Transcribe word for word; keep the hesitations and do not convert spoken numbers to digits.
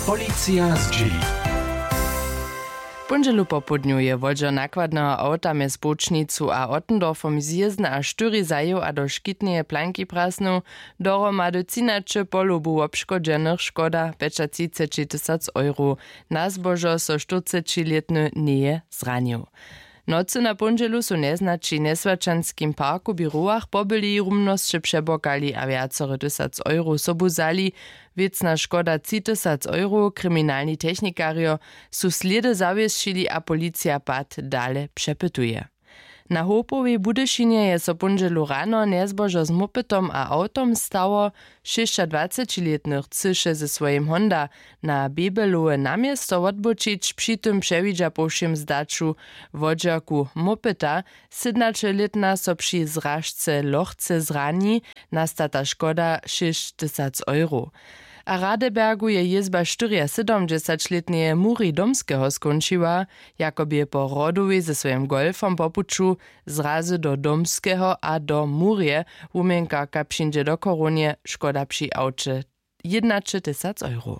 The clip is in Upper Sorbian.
Policija zdźěli. W póndźelu popołdnju je wodźer nakładneho awta mjez połčnicu a ottendorfom zjězny a štyri zajěł a do škitneje planki prasnył. Dohromady třinaće polobu wobškodźenych, škoda pjećatřiceći tysac euro. Na zbožo so štyrcećilětny njeje zranił. Nocy na póndźelu su njeznaći w njeswaćanskim parku w běrowach pobyli, rumnosće přebokali a wjacore tysac euro sobu wzali. Wěcna škoda tři tysac euro. Kriminalni technikarjo su slědy zawěsćili a policija pad dale přepytuje. Na hopowej w budyšinje je so póndźelu rano njezbožo z mopytom a awtom stało. Šěsćadwacećilětny chcyše ze swojim honda na bebelowe na město wotbóćić, při tym přewidźa po wšěm zdaću wodźerku mopyta. Sydnaćelětna so při zražce lochce zrani. Nasta ta škoda šěsć tysac euro. A w Radebergu je jězba štyriasydomdźesaćlětneje Muri Domskeho skónčiła. Jako bě po Rodowej ze swojim golfom po puću zrazy do Domskeho a do Murje wuměnkarka přińdźe do chorownje, škoda při awće jědnaće tysac euro.